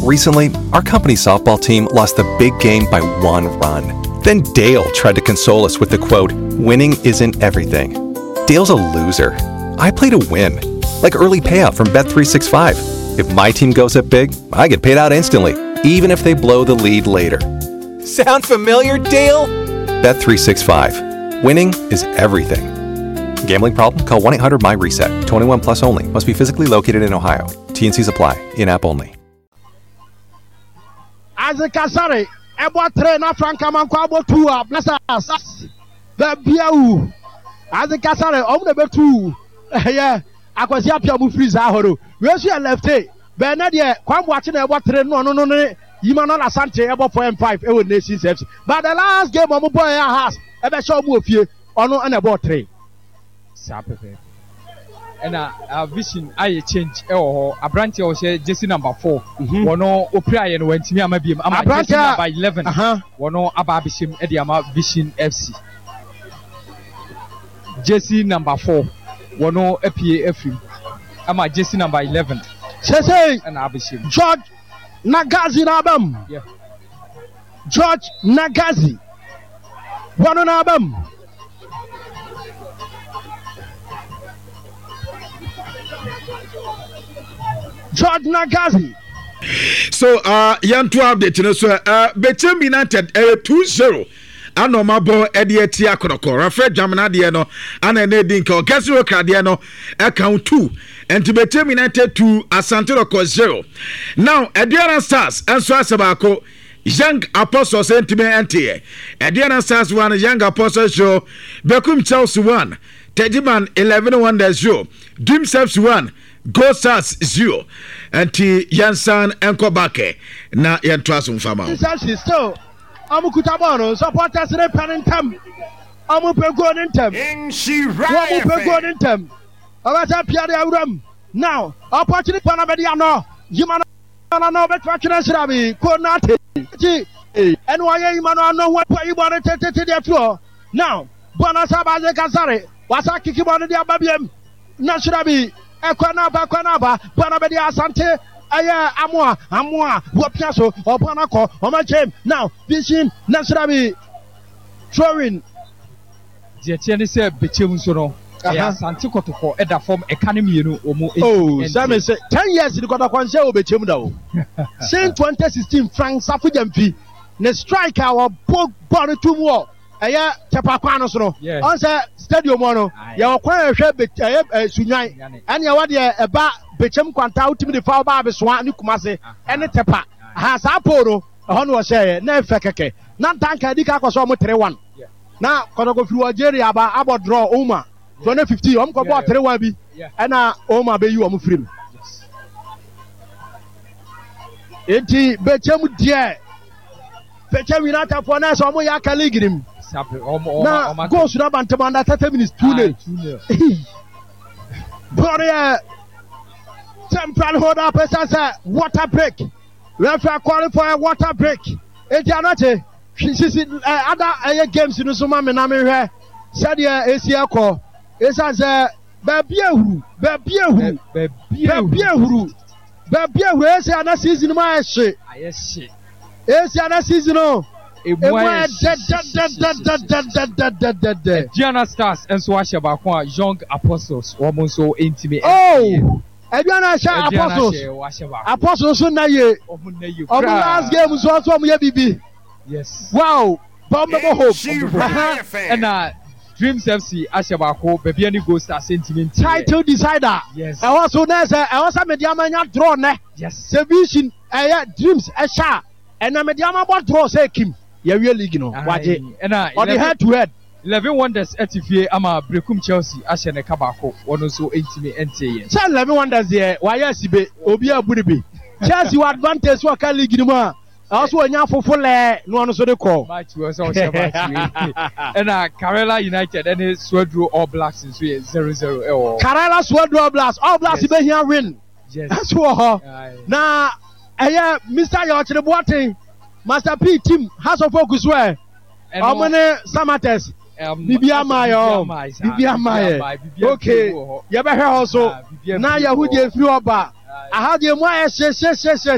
Recently, our company softball team lost the big game by one run. Then Dale tried to console us with the quote, Winning isn't everything. Dale's a loser. I play to win, like early payout from Bet365. If my team goes up big, I get paid out instantly, even if they blow the lead later. Sound familiar, Dale? Bet365. Winning is everything. Gambling problem? Call 1 800 MyReset. 21 plus only. Must be physically located in Ohio. TNCs apply. In app only. Isaac Asare ɛbɔ tere na Frank Amankwa abɔ tu a Blessers baabi awu. Isaac Asare ɔmo na ɛbɛtu ɛyɛ Akwasi Appiah ɔmo firi saa hɔ no. Wei nso yɛ lefte bɛn na deɛ Kwan Boakye na ɛbɔ tere no ɔno no ne Emmanuel Asante ɛbɔ 4 and 5 ɛwɔ Nations FC. But the last game ɔmo bɔ ɛyɛ Hearts ɛbɛhyɛ ɔmo wɔ fie ɔno ɛna ɛbɔɔ tere. Saa pɛpɛɛpɛ. Ɛna uh, vision ayɛ change ɛwɔ hɔ. Aberanteɛ a ɔhyɛ jersey number 4 mhm. wɔno opiraeɛ no wantumi ama biem ama jersey number 11 wɔno aba abɛhyɛ mu ɛde ama Vision FC. Jersey number 4 wɔno apue afiri mu ama jersey number 11 Sɛsɛi ɛna abɛhyɛ mu. George Nagazi na aba mu. Yeah. George Nagazi wɔno na aba mu. George Nagazi. So uh, yɛnto update no so uh, Bechem United ɛyɛ uh, 2-0 ana ɔma bɔ ɛde ati akɔnɔkɔ Rafael Dwamena deɛ no ana ɛna ɛdi nka ɔkɛse okra deɛ no ɛka ho 2 nti Bechem United 2 Asante Rɔkɔ 0 now Aduana Stars nso asɛ baako Young Apostles ntumi nteɛ. Aduana Stars 1, Young Apostles 0, Bekum Chelsea 1, Tejiman 11 Wonders 0, Dreams FC 1, Gold Stars 0. Nti yɛnsan nkɔ back na yɛntoa so mfa ma wo. Chelsea still ɔmo kuta bɔɔl no, supporters ne pɛ ne ntɛm, ɔmo pɛ goal ne ntɛm, wɔn pɛ goal ne ntɛm. Ɔbɛsɛ pia de awuram now opportunity pa na bɛde ano yima no. Na na ɔbɛtumi atwe no asra me Konate nti ɛne ɔyɛ yima no ano ho ayi bɔ no tetete de afiri hɔ na bɔ no asa baze kasare wasa kiki bɔ no de aba biam na sra bi ɛkɔ na aba kɔ na aba bɔ no bɛde asante ɛyɛ amoa amoa wɔpia so ɔbɔ no akɔ ɔma kyɛm now vision na sra bi throwing. Deɛ ɛteɛ ne sɛ Bɛkyɛm nso no, ɛyɛ Asante Kɔtɔkɔ ɛda fam ɛka no mmienu wɔ mu Oh, sɛ me se 10 years ni Kɔtɔkɔ nhyɛ wɔ Bɛkyɛm da o. Since 2016 Frank Safo Gyamfi ne strike a wɔbɔ bɔɔl no tum wɔ ɛyɛ Tɛpa kwan no so no. Ɔn sɛ stadium hɔ no, yɛwɔ kwan a ɛhwɛ ɛyɛ Sunyan ɛne ɛwɔ deɛ ɛba Bɛkyɛm kwanta wotumi de fa ɔba Abesoa ne Kumase ɛne Tɛpa. Aha saa pole no ɛhɔ no wɔhyɛeɛ na ɛfɛ kɛkɛ. Na Ntanka adi ka akɔ sɛ ɔmo 3-1. Na kɔtɔkɔ firi Algeria aba abɔ draw Ouma 2015 wɔn kɔ bɔɔ 3-1 bi ɛna Ouma bɛyi wɔn firi mu. Eti bɛkyɛm deɛ bɛkyɛm United foɔ na ɛsɛ wɔn yɛ aka league nim na goals na aba ntɛm under 30 minutes 2-0. Bɔɔl no yɛ temporary hold up ɛsan sɛ water break referee calling for a water break eti anakye. Sisi ɛ ada ɛyɛ games no so ma me na menhwɛ sɛdeɛ esi ɛkɔ. Esiane sɛ baabi ehuru, baabi ehuru, baabi ehuru, baabi ehuru. Esi ana season mu ayɛ hye. Ayɛ hye. Esi ana season no emu ayɛ dɛdɛdɛdɛdɛdɛdɛdɛdɛ. Aduana Stars nso ahyɛ baako a Young Apostles wɔn nso ntumi. Oh, Aduana ahyɛ Apostles. Apostles nso nna yie. Wɔn last game nso nso wɔn yɛ bibi. Yes. Wow! Bɔ mbɛbɔ hope. Ɛna Dreams FC ahyɛ baako, baabi ani Gold Stars ntumi nti. Title decider. Yes. Ɛhɔ so na ɛsɛ ɛhɔ sɛ Medeama nya draw nɛ. Yes. Sɛ Vision ɛyɛ Dreams ɛhyɛ a ɛnɛ Medeama bɔ draw sɛ Kim yɛwie league no wagye. Ɛna Ɔde head to head. 11 Wonders ɛte fie ama Berekum Chelsea ahyɛ ne ka baako, wɔn nso ntumi nteeɛ. Sɛ 11 Wonders deɛ wayɛ asibe obi abu no bi. Chelsea wɔ advantage so ɔka league no mu a. Ɛwɔ so wɔnya fofo lɛɛ na ɔno nso de kɔ. Match wɔ sɛ ɔhyɛ match wei. Ɛna Karela United ɛne Suaduro All Blacks nso yɛ 0-0 ɛwɔ hɔ. Karela Suaduro All Blacks, All Blacks Yes. bɛhia win Yes. ɛso wɔ hɔ. Aye. Na ɛyɛ Mister Yɔkyere Boateng, Master P team, House of Oak so ɛ. Ɛno- Ɔmo ne Samatex. Biribi ama yɛ ɔ. Biribi ama yɛ. Okay, yɛbɛhwɛ hɔ so. Ah, biribi Na apue yɛho wɔ deɛ hɔ. ɛfiri hɔ ba. Aha deɛ mu ayɛ hye hye hye hye hye.